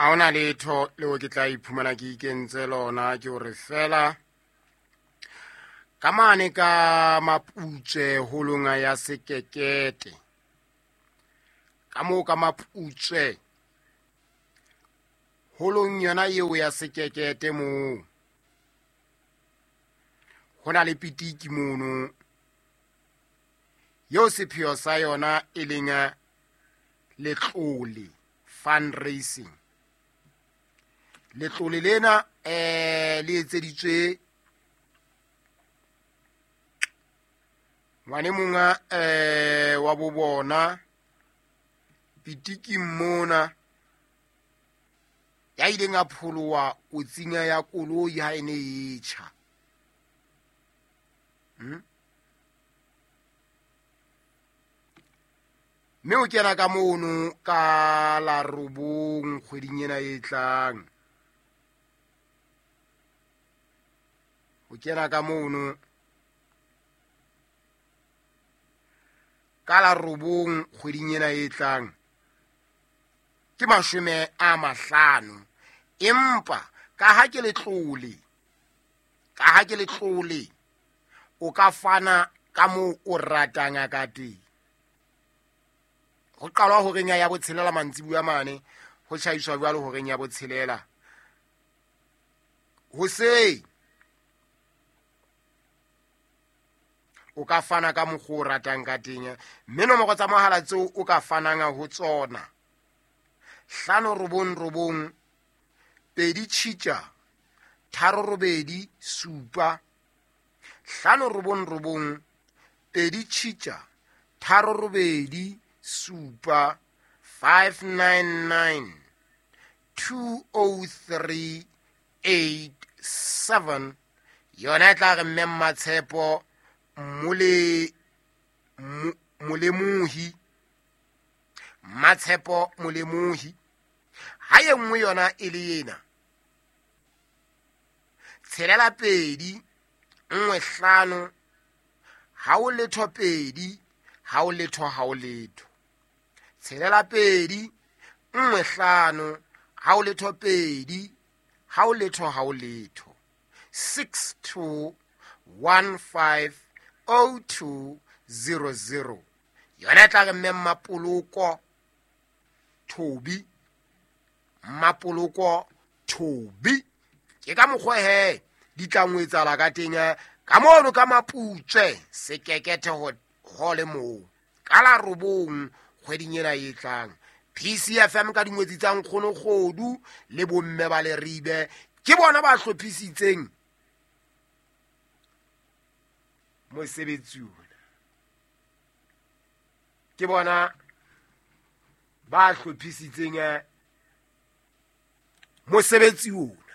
Ha hona letho leo ke tla iphumana ke ikentse lona, ke hore fela ka mane ka Maputswe holong ya Sekekete, ka moo ka Maputswe holong yona eo ya Sekekete moo ho na le pitiki mono eo sepheo sa yona e leng letlole fundraising. Letlole lena le etseditswe ngwane monga wa bo bona pitiking mona ya ileng a pholoha kotsing ya koloi ha e ne e tjha. Mme o kena ka mono ka la 9 kgweding ena e tlang. O kena ka mono ka la 9 kgweding ena e tlang. Ke 50. Empa ka ha ke letlole, ka ha ke letlole, o ka fana ka moo o ratang ka teng. Ho qalwa horeng ya botshelela mantsibuya mane, ho tjhaiswa jwalo horeng ya botshelela. Hoseng o ka fana ka mokgwa o ratang ka teng, mme nomoro tsa mohala tseo o ka fanang ho tsona 5 9 9 2 tjhitja 3 8 7, 5 9 9 2 tjhitja 3 8 7, 5 9 9 2 0 3 8 7. Yona e tla re mme Mmatshepo Molemohi, Mmatshepo Molemohi. Ha e nngwe yona e le ena 6 2 1 5 ha o letho 2 ha o letho ha o letho, 6 2 1 5 ha o letho 2 ha o letho ha o letho, 6 2 1 5 0 2 0 0. Yona e tla re mme Mmapoloko Thobi, Mmapoloko Thobi. Ke ka mokgwa he di tla ngwetsala ka teng ka mono ka Maputswe Sekekete hole moo ka la 9 kgweding ena e tlang. PCFM ka dingwetsi tsa Nkgono Kgodu le bomme ba Leribe ke bona ba hlophisitseng mosebetsi ona, ke bona ba hlophisitseng mosebetsi ona.